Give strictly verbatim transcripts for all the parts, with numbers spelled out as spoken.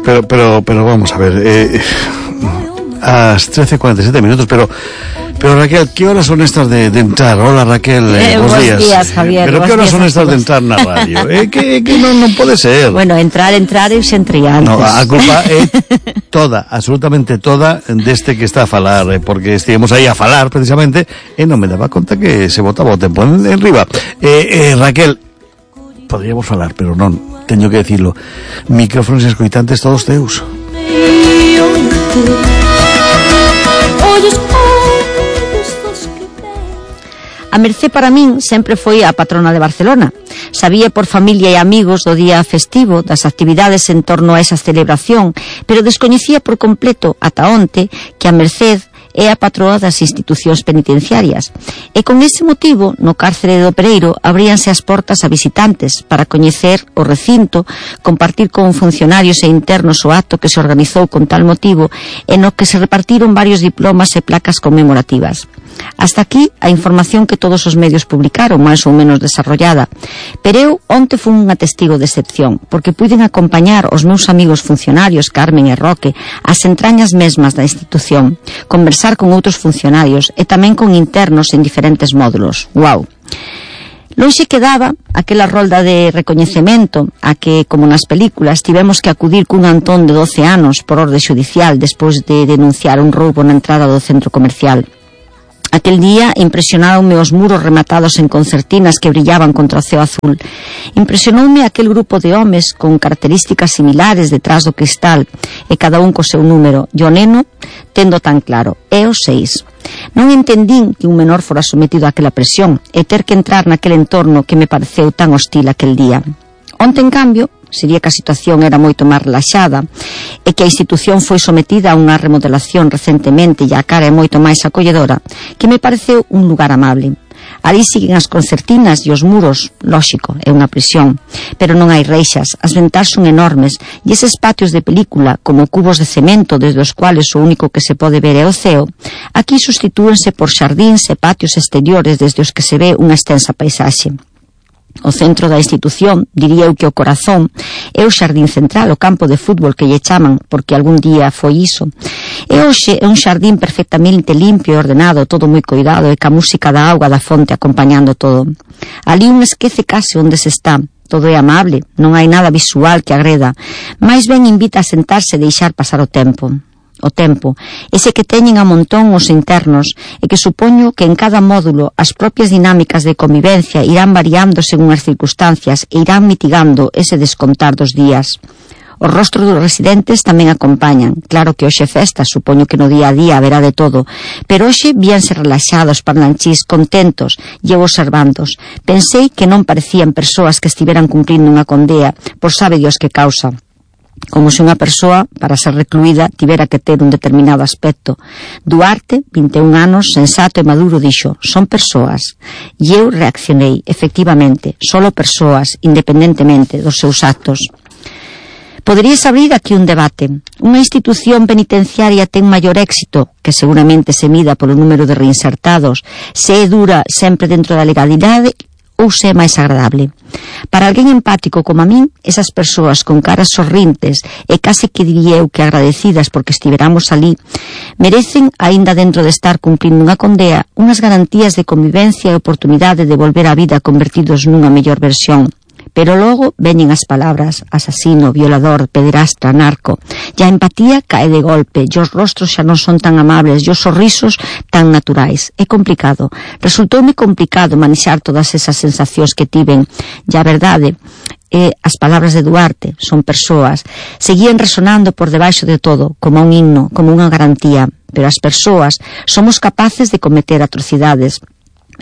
pero, pero, pero vamos a ver, eh, a las trece cuarenta y siete minutos, pero... Pero Raquel, ¿qué horas son estas de, de entrar? Hola Raquel, eh, eh, buenos días. días Javier, Pero ¿qué horas son estas de entrar na radio? Eh, que, que non, non pode ser. Bueno, entrar, entrar e se entre antes. No, a culpa é toda, absolutamente toda deste que está a falar, eh, porque estivemos aí a falar precisamente e non me daba conta que se botaba o tempo en, en riba. Eh, eh, Raquel, podríamos falar, pero non, teño que decirlo. Micrófonos e escoitantes todos teus. A Mercé para min sempre foi a patrona de Barcelona. Sabía por familia e amigos do día festivo, das actividades en torno a esa celebración, pero descoñecía por completo ata onte que a Merced é a patroa das institucións penitenciarias. E con ese motivo, no cárcere do Pereiro, abríanse as portas a visitantes para coñecer o recinto, compartir con funcionarios e internos o acto que se organizou con tal motivo e no que se repartiron varios diplomas e placas conmemorativas. Hasta aquí a información que todos os medios publicaron, máis ou menos desarrollada. Pero eu onte fun unha testigo de excepción, porque puiden acompañar os meus amigos funcionarios Carmen e Roque ás entrañas mesmas da institución, conversar con outros funcionarios e tamén con internos en diferentes módulos. Guau! Lonxe quedaba aquela rolda de recoñecemento a que, como nas películas, tivemos que acudir cun Antón de doce anos por orde xudicial despois de denunciar un roubo na entrada do centro comercial. Aquel día impresionaronme os muros rematados en concertinas que brillaban contra o ceo azul. Impresionoume aquel grupo de homes con características similares detrás do cristal e cada un co seu número. E o neno, tendo tan claro, é o seis. Non entendín que un menor fora sometido a aquela presión e ter que entrar naquele entorno que me pareceu tan hostil aquel día. Onte, en cambio, sería que a situación era moito máis relaxada e que a institución foi sometida a unha remodelación recentemente e a cara é moito máis acolledora, que me pareceu un lugar amable. Ali siguen as concertinas e os muros, lóxico, é unha prisión, pero non hai reixas, as ventás son enormes e eses patios de película, como cubos de cemento desde os cuales o único que se pode ver é o ceo, aquí sustitúense por xardíns e patios exteriores desde os que se ve unha extensa paisaxe. O centro da institución, diría eu que o corazón, é o xardín central, o campo de fútbol que lle chaman, porque algún día foi iso. E hoxe é un xardín perfectamente limpio e ordenado, todo moi cuidado, e ca música da auga da fonte acompañando todo. Ali un esquece case onde se está. Todo é amable, non hai nada visual que agreda, máis ben invita a sentarse e deixar pasar o tempo. O tempo, ese que teñen a montón os internos e que supoño que en cada módulo as propias dinámicas de convivencia irán variando según as circunstancias e irán mitigando ese descontar dos días. Os rostros dos residentes tamén acompañan. Claro que hoxe festa, supoño que no día a día haberá de todo, pero hoxe víanse relaxados, parlanchís, contentos e eu observandos. Pensei que non parecían persoas que estiveran cumprindo unha condea por sabe Dios que causa. Como se unha persoa, para ser recluída, tivera que ter un determinado aspecto. Duarte, vinte e un anos, sensato e maduro, dixo, son persoas. E eu reaccionei, efectivamente, solo persoas, independentemente dos seus actos. Poderías abrir aquí un debate. Unha institución penitenciaria ten maior éxito, que seguramente se mida polo número de reinsertados, se é dura sempre dentro da legalidade, ou se é máis agradable. Para alguén empático como a min, esas persoas con caras sorrintes e case que diría eu que agradecidas porque estiveramos ali, merecen, aínda dentro de estar cumprindo unha condea, unhas garantías de convivencia e oportunidade de volver á vida convertidos nunha mellor versión. Pero logo veñen as palabras asasino, violador, pederastra, narco. E a empatía cae de golpe, e os rostros xa non son tan amables, e os sorrisos tan naturais. É complicado. Resultoume complicado manexar todas esas sensacións que tiven. E a verdade é as palabras de Duarte, son persoas, seguían resonando por debaixo de todo, como un himno, como unha garantía. Pero as persoas somos capaces de cometer atrocidades.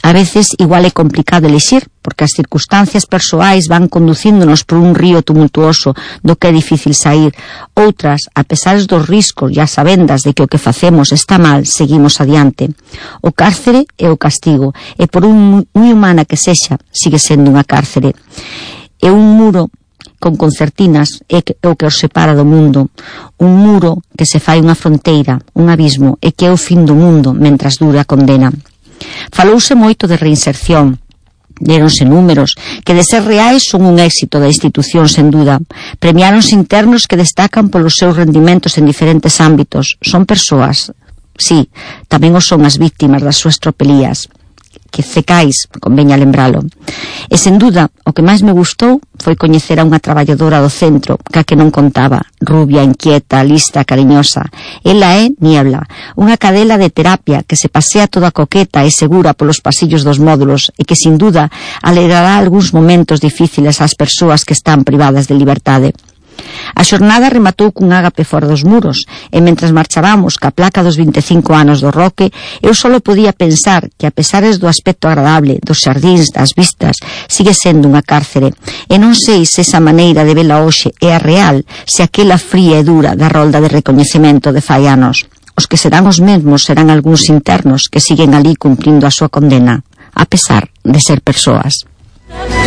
A veces igual é complicado elixir, porque as circunstancias persoais van conducíndonos por un río tumultuoso do que é difícil sair. Outras, a pesar dos riscos e as sabendas de que o que facemos está mal, seguimos adiante. O cárcere é o castigo, e por un moi humana que sexa, sigue sendo unha cárcere. É un muro con concertinas é o que os separa do mundo. Un muro que se fai unha fronteira, un abismo, e que é o fin do mundo mentras dure a condena. Falouse moito de reinserción, Deronse números que, de ser reais, son un éxito da institución, sen duda. Premiáronse internos que destacan polos seus rendimentos en diferentes ámbitos. Son persoas, sí, tamén o son as víctimas das súas tropelías, que cecais, conveña lembralo. E, sen duda, o que máis me gustou foi coñecer a unha traballadora do centro, ca que non contaba, rubia, inquieta, lista, cariñosa. Ela é Niebla, unha cadela de terapia que se pasea toda coqueta e segura polos pasillos dos módulos e que, sin duda, alegrará algúns momentos difíciles ás persoas que están privadas de liberdade. A xornada rematou cun ágape fora dos muros e mentras marchábamos ca placa dos vinte e cinco anos do Roque, eu só podía pensar que, a pesares do aspecto agradable, dos xardíns, das vistas, sigue sendo unha cárcere, e non sei se esa maneira de vela hoxe é a real, se aquela fría e dura da rolda de recoñecemento de fai anos. Os que serán os mesmos serán algúns internos que siguen ali cumprindo a súa condena, a pesar de ser persoas.